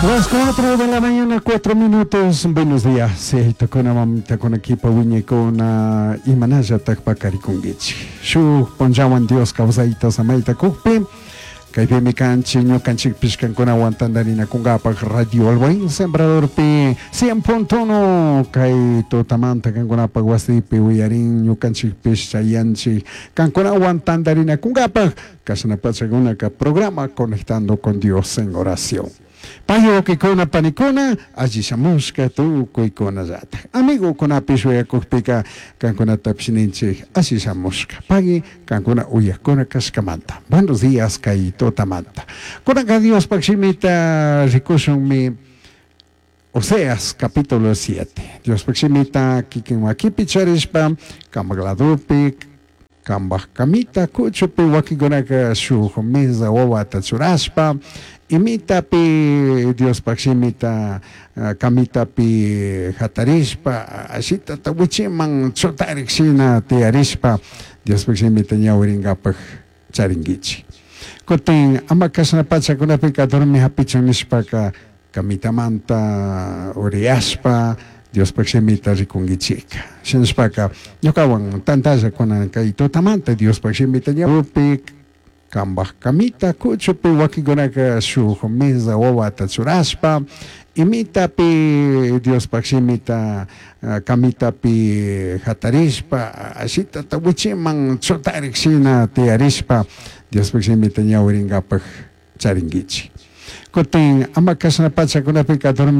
Las 4 de la mañana, 4 minutos. Buenos días. Taytacuna, mamitacuna, kipa wiñaykuna, imanallataj paqarikunguichik. Shuj punllawan Dios kawsayta samayta kukpi, kaypimi kanchik ñukanchikpish kankunawan tandarinakungapaj Radio El Buen Sembradorpi 100.1 kay tutamanta kankunapaj wasipi uyarin ñukanchikpish chayanchik kankunawan tandarinakungapaj kashna pachakunaka programa Conectando con Dios en Oración. Pay wawkikuna panikuna alli shamushka tukuykunallataj amigokunapish uyakukpika kankunatapish ninchik alli shamushka pagui kankuna uyakuna kashkamanta. Buenos días kay tutamanta. Kunanka Diospaj shimita rikushunmi Oseas capítulo 7. Diospaj shimita kikin makipi charishpa kambaj ladopi kambaj kamita kuchupi wakinkunaka shuj mesa wawata churashpa imitapi Diospaj shimita kamitapi jatarishpa ashitata wichiman chutarik shina tiyarishpa Diospaj shimita ñawiringapaj charinguichik. Kutin ama kashna pachakunapika dormi hapichun nishpaka kamitamanta uriyashpa Diospaj shimita rikunguichika. Shinashpaka ñukawan tantalla kunan kay tutamanta Diospaj shimita ñawipi kambaj kamita kuchupi wakinkunaka shuj mesa wawata churashpa imitapi Diospaj shimita kamitapi jatarishpa ashitata wichiman chutarik shina tiyarishpa Diospaj shimita ñawiringapaj charinguichik. Kutin ama kashna pachakunapika dormi.